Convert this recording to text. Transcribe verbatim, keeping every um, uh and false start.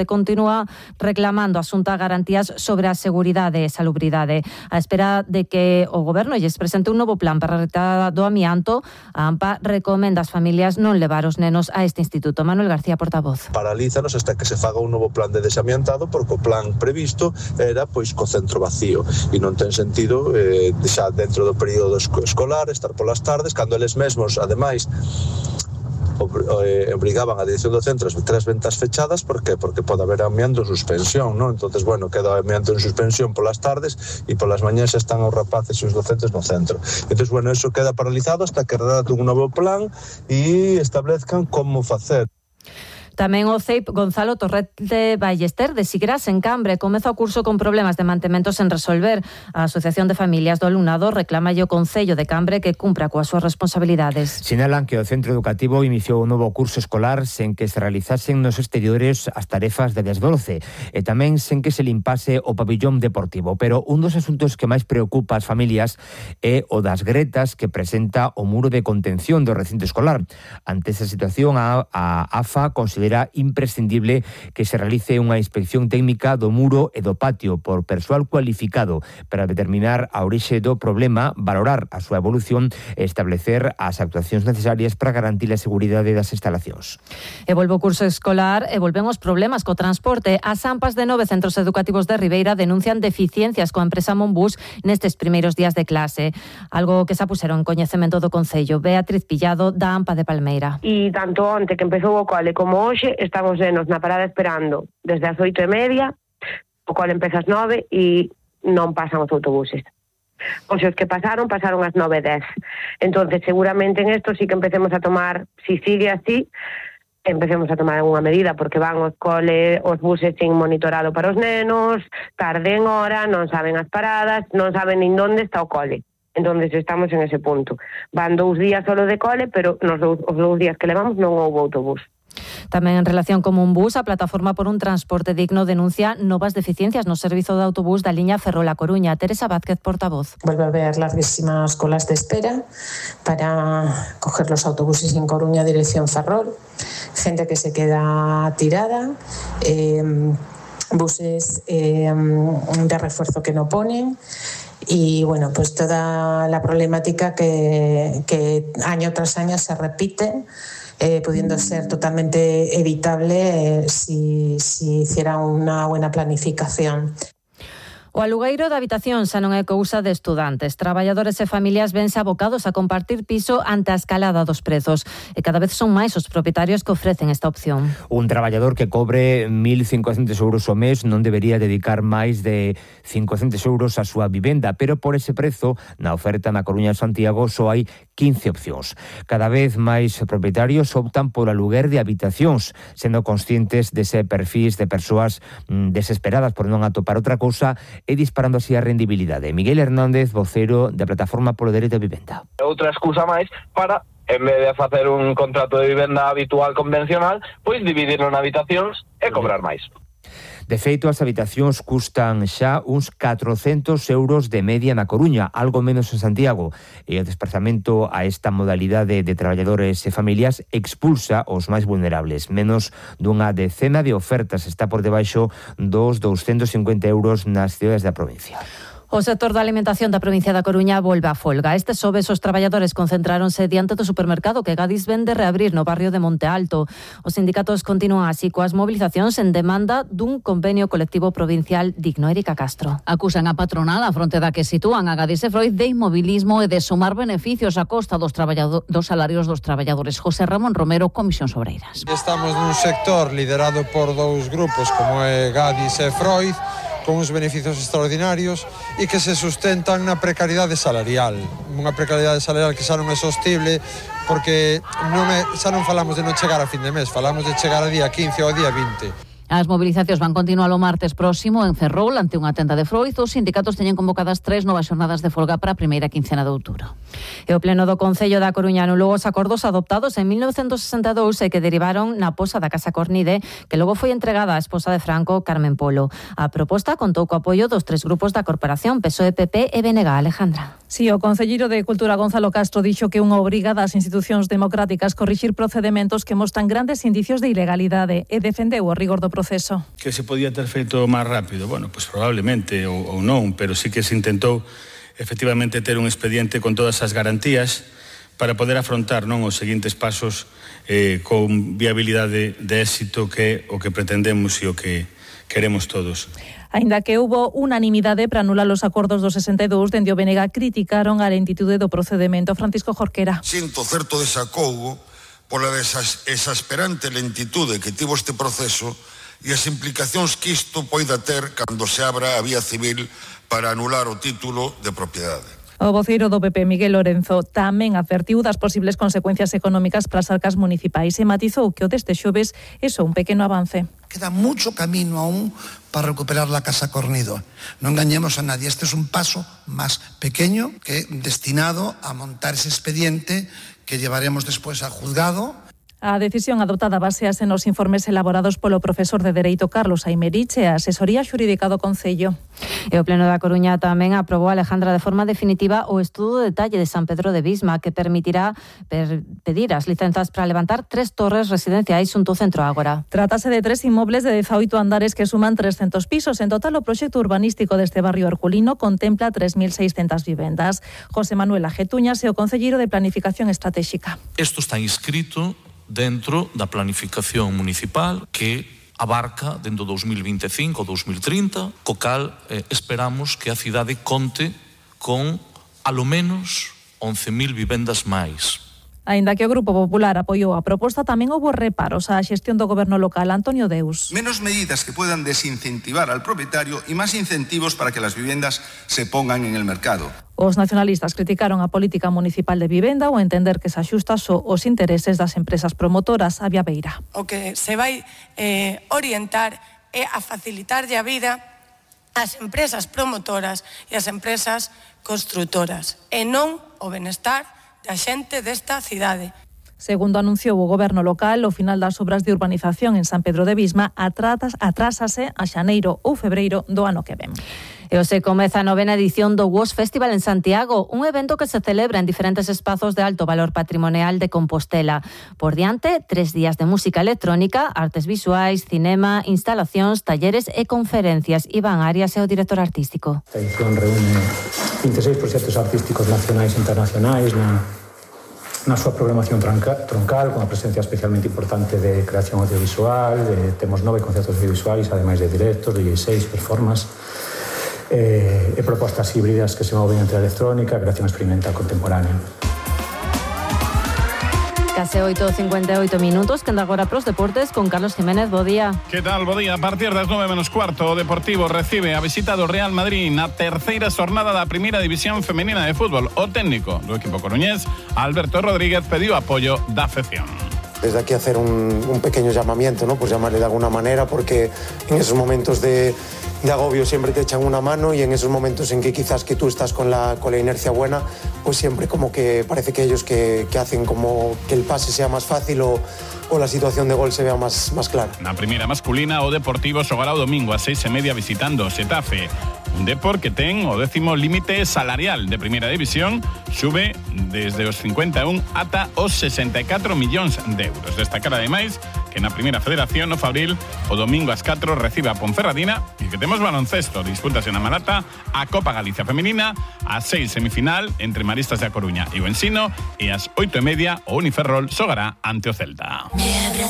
continúa reclamando a Xunta garantías sobre a seguridade e salubridade. A espera de que o Goberno lles presente un novo plan para a retirada do amianto, a AMPA recomenda ás familias non levar os nenos a este instituto. Manuel García, portavoz. Paralízanos hasta que se faga un novo plan de desamiantado, porque o plan previsto era pois co centro vacío e non ten sentido eh, xa dentro do período escolar estar polas tardes, cando eles mesmos, ademais, obrigaban a dirección do centro a ter as ventas fechadas. Por que? Porque pode haber amianto en suspensión, non? Entonces, bueno, queda amianto en suspensión polas tardes e polas mañás están os rapaces e os docentes no centro. Entonces, bueno, eso queda paralizado hasta que redacten un novo plan e establezcan como facer. Tamén o C E I P Gonzalo Torrente Ballester de Sigras en Cambre comeza o curso con problemas de mantemento sen resolver. A Asociación de Familias do Alumnado reclama o Concello de Cambre que cumpra coas súas responsabilidades. Sinalan que o centro educativo iniciou un novo curso escolar sen que se realizasen nos exteriores as tarefas de desdolce e tamén sen que se limpase o pabillón deportivo. Pero un dos asuntos que máis preocupa as familias é o das gretas que presenta o muro de contención do recinto escolar. Ante esa situación, a, a AFA considera Era imprescindible que se realice unha inspección técnica do muro e do patio por persoal cualificado para determinar a orixe do problema, valorar a súa evolución e establecer as actuacións necesarias para garantir a seguridade das instalacións. E volve o curso escolar e volven os problemas co transporte. As AMPAs de nove centros educativos de Ribeira denuncian deficiencias coa empresa Monbus nestes primeiros días de clase, algo que se puseron en coñecemento do Concello. Beatriz Pillado, da AMPA de Palmeira. E tanto onte que empezou o cole como hoxe estamos nenos na parada esperando desde as oito e media, o cole empeza ás nove e non pasan os autobuses. Os que pasaron, pasaron ás nove e dez. Entonces, seguramente en esto sí que empecemos a tomar, si sigue así, empecemos a tomar unha medida, porque van os cole, os buses sin monitorado para os nenos, tarde en hora, non saben as paradas, non saben nin onde está o cole. Entonces estamos en ese punto. Van dous días solo de cole, pero nos dous, os dous días que levamos non houve autobús. Tamén en relación con Monbus, a Plataforma por un Transporte Digno denuncia novas deficiencias no servizo de autobús da liña Ferrol-A Coruña. Teresa Vázquez, portavoz. Vuelve a haber larguísimas colas de espera para coger los autobuses en Coruña dirección Ferrol, gente que se queda tirada, eh, buses eh, de refuerzo que no ponen. Y bueno, pues toda la problemática que, que año tras año se repite, eh, pudiendo ser totalmente evitable eh, si, si hiciera una buena planificación. O alugueiro da habitación xa non é cousa de estudantes. Traballadores e familias vense abocados a compartir piso ante a escalada dos prezos e cada vez son máis os propietarios que ofrecen esta opción. Un traballador que cobre mil cincocentos euros ao mes non debería dedicar máis de cincocentos euros á súa vivenda, pero por ese prezo, na oferta na Coruña e Santiago, só hai quince opcións. Cada vez máis propietarios optan por aluguer de habitacións, sendo conscientes dese perfil de persoas mm, desesperadas por non atopar outra cousa e disparando así a rendibilidade. Miguel Hernández, vocero da Plataforma polo Dereito a Vivenda. Outra excusa máis para, en vez de facer un contrato de vivenda habitual convencional, pois dividirlo en habitacións e cobrar máis. De feito, as habitacións custan xa uns catrocentos euros de media na Coruña, algo menos en Santiago, e o desplazamento a esta modalidade de traballadores e familias expulsa os máis vulnerables. Menos dunha decena de ofertas está por debaixo dos douscentos cincuenta euros nas cidades da provincia. O sector da alimentación da provincia da Coruña volve a folga. Este xoves os traballadores concentráronse diante do supermercado que Gadis vende reabrir no barrio de Monte Alto. Os sindicatos continúan así coas movilizacións en demanda dun convenio colectivo provincial digno. Erika Castro. Acusan a patronal a fronte da que sitúan a Gadis e Freud de inmobilismo e de sumar beneficios a costa dos, dos salarios dos traballadores. José Ramón Romero, Comisións Obreiras. Estamos nun sector liderado por dous grupos como é Gadis e Freud, con uns beneficios extraordinarios e que se sustentan na precariedade salarial. Unha precariedade salarial que xa non é sostible porque non é, xa non falamos de non chegar a fin de mes, falamos de chegar a día quince ou a día vinte. As movilizacións van continuar o martes próximo en Ferrol ante unha tenda de Freud. Os sindicatos teñen convocadas tres novas xornadas de folga para a primeira quincena de outubro. E o Pleno do Concello da Coruña anulou os acordos adoptados en mil novecentos sesenta e dous e que derivaron na posa da Casa Cornide, que logo foi entregada á esposa de Franco, Carmen Polo. A proposta contou co apoio dos tres grupos da corporación, P S O E, P P e B N G. Alejandra. Si, o concelleiro de Cultura Gonzalo Castro dixo que unha obriga das institucións democráticas corrixir procedementos que mostran grandes indicios de ilegalidade e defendeu o rigor do proceso. Que se podía ter feito máis rápido? Bueno, pois probablemente ou, ou non, pero sí que se intentou efectivamente ter un expediente con todas as garantías para poder afrontar non os seguintes pasos eh, con viabilidade de éxito, que é o que pretendemos e o que queremos todos. Aínda que hubo unanimidade para anular os acordos do sesenta e dous, dende o B N G criticaron a lentitude do procedemento. Francisco Jorquera. Sinto certo desacougo pola exasperante lentitude que tivo este proceso e as implicacións que isto poida ter cando se abra a vía civil para anular o título de propiedade. O voceiro do P P, Miguel Lorenzo, tamén advertiu das posibles consecuencias económicas para as arcas municipais e matizou que o deste xoves é só un pequeno avance. Queda mucho camino aún para recuperar la Casa Cornido. No engañemos a nadie, este es un paso más pequeño que destinado a montar ese expediente que llevaremos después al juzgado. A decisión adoptada basease nos informes elaborados polo profesor de Dereito Carlos Aymerich e a asesoría xurídica do Concello. E o Pleno da Coruña tamén aprobou, Alejandra, de forma definitiva o estudo de detalle de San Pedro de Visma, que permitirá per pedir as licenzas para levantar tres torres residenciais xunto ao Centro Ágora. Trátase de tres inmobles de dezaoito andares que suman trescentos pisos. En total, o proxecto urbanístico deste barrio herculino contempla tres mil seiscentas vivendas. José Manuel Ajetuñas é o concelleiro de Planificación Estratégica. Isto está inscrito dentro da planificación municipal que abarca dentro do dos mil vinte e cinco ou dos mil trinta, co cal eh, esperamos que a cidade conte con alo menos once mil vivendas máis. Aínda que o Grupo Popular apoiou a proposta, tamén houbo reparos á xestión do goberno local. Antonio Deus. Menos medidas que puedan desincentivar al propietario y más incentivos para que las viviendas se pongan en el mercado. Os nacionalistas criticaron a política municipal de vivenda ao entender que se axusta só os intereses das empresas promotoras. A Beira. O que se vai eh, orientar é a facilitarlle a vida ás empresas promotoras e ás empresas construtoras, e non o benestar da xente desta cidade. Segundo anunciou o goberno local, o final das obras de urbanización en San Pedro de Visma atrásase a xaneiro ou febreiro do ano que ven. E hoxe comeza a novena edición do W O S Festival en Santiago, un evento que se celebra en diferentes espazos de alto valor patrimonial de Compostela. Por diante, tres días de música electrónica, artes visuais, cinema, instalacións, talleres e conferencias. Iván Arias é o director artístico. Esta edición reúne vinte e seis proxectos artísticos nacionais e internacionais na, na súa programación tronca, troncal, con a presencia especialmente importante de creación audiovisual. Eh, temos nove concertos audiovisuais, ademais de directos, dieciséis performances, Eh, e propostas híbridas que se moven entre a electrónica e a creación experimental contemporánea. Case oito e cincuenta e oito minutos, que anda agora pros deportes con Carlos Jiménez. Bo día. Que tal, bo día? A partir das nove menos cuarto, o Deportivo recibe a visita do Real Madrid na terceira xornada da primeira división femenina de fútbol. O técnico do equipo coruñés, Alberto Rodríguez, pediu apoio da afección. Desde aquí hacer un, un pequeño llamamiento, ¿no? Pues llamarle de alguna manera, porque en esos momentos de, de agobio siempre te echan una mano, y en esos momentos en que quizás que tú estás con la, con la inercia buena, pues siempre como que parece que ellos que, que hacen como que el pase sea más fácil o, o la situación de gol se vea más, más clara. Na primeira masculina, o Deportivo xogará o domingo a seis e media visitando o Xetafe. Un Depor que ten o décimo límite salarial de primeira división, sube desde os cincuenta e un ata os sesenta e catro millóns de euros. Destacar ademais que na primeira federación, no Fabril, o domingo ás catro recibe a Ponferradina, e que temos baloncesto, dispútase na Malata a Copa Galicia Femenina, a seis semifinal entre Maristas de A Coruña e o Ensino, e ás oito e media o Uniferrol xogará ante o Celta.